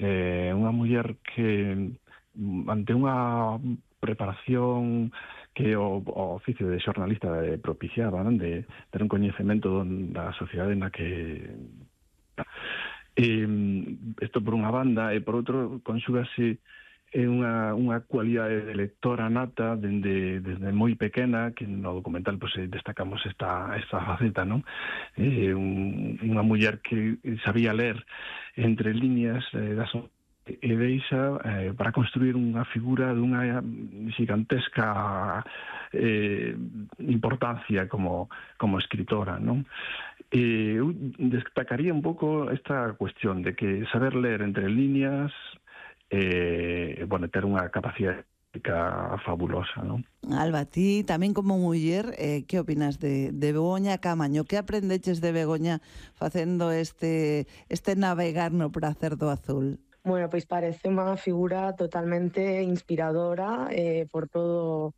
unha muller que ante unha preparación que o oficio de xornalista propiciaba, non? De ter un coñecemento da sociedade na que isto por unha banda, e por outro conxúgase unha cualidade de lectora nata desde moi pequena, que no documental pues, destacamos esta faceta, non? Unha muller que sabía ler entre líneas das e deixa para construir unha figura dunha gigantesca importancia como escritora, non? Eu destacaría un pouco esta cuestión de que saber ler entre líneas ter unha capacidade fabulosa, non? Alba, ti tamén como muller, que opinas de Begoña Camaño? Que aprendeches de Begoña facendo este navegar no prazer do azul? Bueno, pois parece unha figura totalmente inspiradora por todo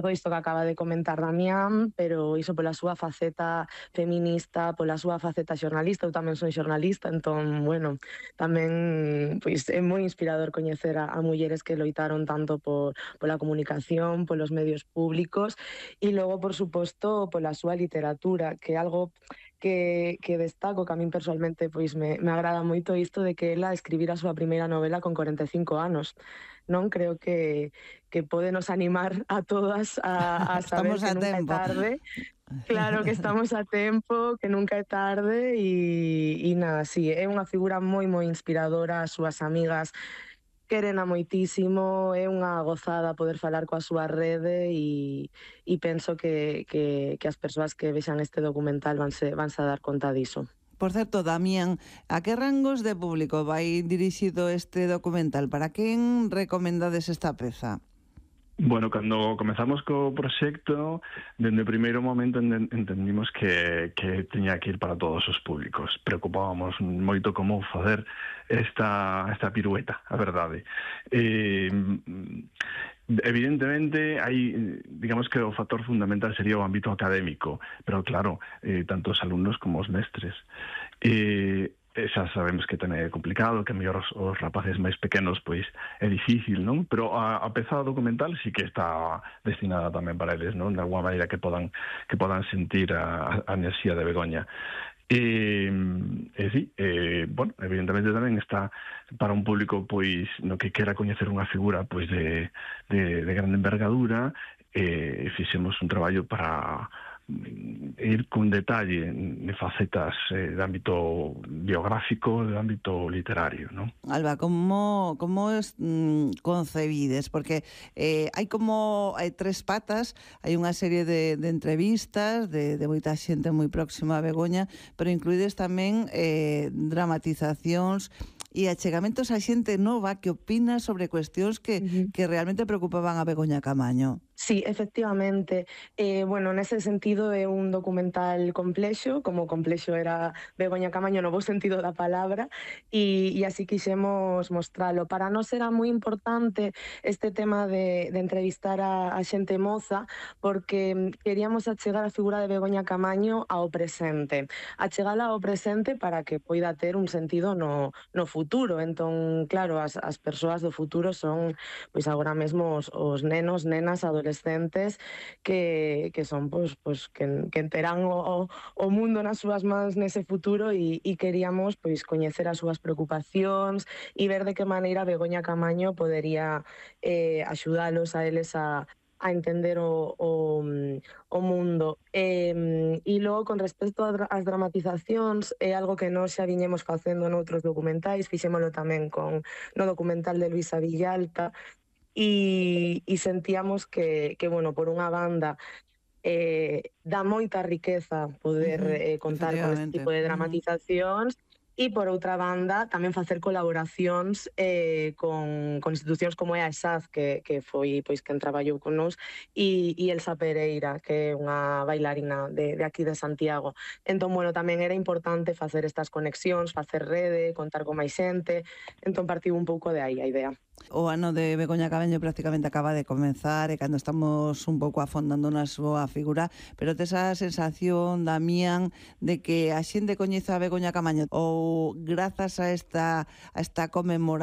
isto que acaba de comentar Damián, pero iso pola súa faceta feminista, pola súa faceta xornalista. Eu tamén son xornalista, entón, bueno, tamén pois é moi inspirador coñecer a mulleres que loitaron tanto pola comunicación, polos medios públicos, e logo, por suposto, pola súa literatura, que é algo que destaco, que a min personalmente pois me agrada moito isto de que ela escribira a súa primeira novela con 45 anos. Non creo que pode nos animar a todas a saber que nunca é tarde. Claro que estamos a tempo, que nunca é tarde e nada, sí, é unha figura moi moi inspiradora. As súas amigas querena moitísimo, é unha gozada poder falar coa súa rede e penso que as persoas que vexan este documental vanse a dar conta diso. Por certo, Damián, a que rangos de público vai dirixido este documental? Para quen recomendades esta peza? Bueno, cando comezamos co proxecto, dende o primeiro momento entendimos que teña que ir para todos os públicos. Preocupábamos moito como facer esta pirueta, a verdade. Evidentemente, hai, digamos que o factor fundamental sería o ámbito académico, pero claro, tanto os alumnos como os mestres. Xa sabemos que ten complicado, que mellor os rapaces máis pequenos pois é difícil, non? Pero a peza documental sí que está destinada tamén para eles, non? De alguma maneira que podan sentir a enerxía de Begoña. Bueno, evidentemente tamén está para un público pois no que quera coñecer unha figura pois de grande envergadura. Fixemos un traballo para ir con detalle de facetas de ámbito biográfico, de ámbito literario, ¿no? Alba, como concebides? Porque hai tres patas, hai unha serie de entrevistas de moita xente moi próxima a Begoña, pero incluídes tamén dramatizacións e achegamentos a xente nova que opina sobre cuestións que realmente preocupaban a Begoña Camaño. Sí, efectivamente. Bueno, nese sentido é un documental complexo, como complexo era Begoña Camaño no bo sentido da palabra, e así quixemos mostralo. Para nós era moi importante este tema de entrevistar a xente moza, porque queríamos achegar a figura de Begoña Camaño ao presente. Achegala ao presente para que poida ter un sentido no futuro. Entón, claro, as persoas do futuro son, pois agora mesmo os nenos, nenas, adolescentes que son que terán o mundo nas súas mans nese futuro e queríamos pois coñecer as súas preocupacións e ver de que maneira Begoña Camaño podería axudalos a eles a entender o mundo. E logo, con respecto ás dramatizacións, é algo que nós xa viñemos facendo noutros documentais, fixémolo tamén no documental de Luisa Villalta, e sentíamos que, bueno, por unha banda dá moita riqueza poder contar con este tipo de dramatizacións, e por outra banda tamén facer colaboracións con institucións como é a ESAD, que foi pois quen traballou con nós, e Elsa Pereira, que é unha bailarina de aquí de Santiago. Entón, bueno, tamén era importante facer estas conexións, facer rede, contar con máis xente. Entón partiu un pouco de aí a idea. O ano de Begoña Camaño prácticamente acaba de comenzar e cando estamos un pouco afondando na súa figura, pero tes a sensación, Damián, de que a xente coñece a Begoña Camaño ou grazas a esta conmemoración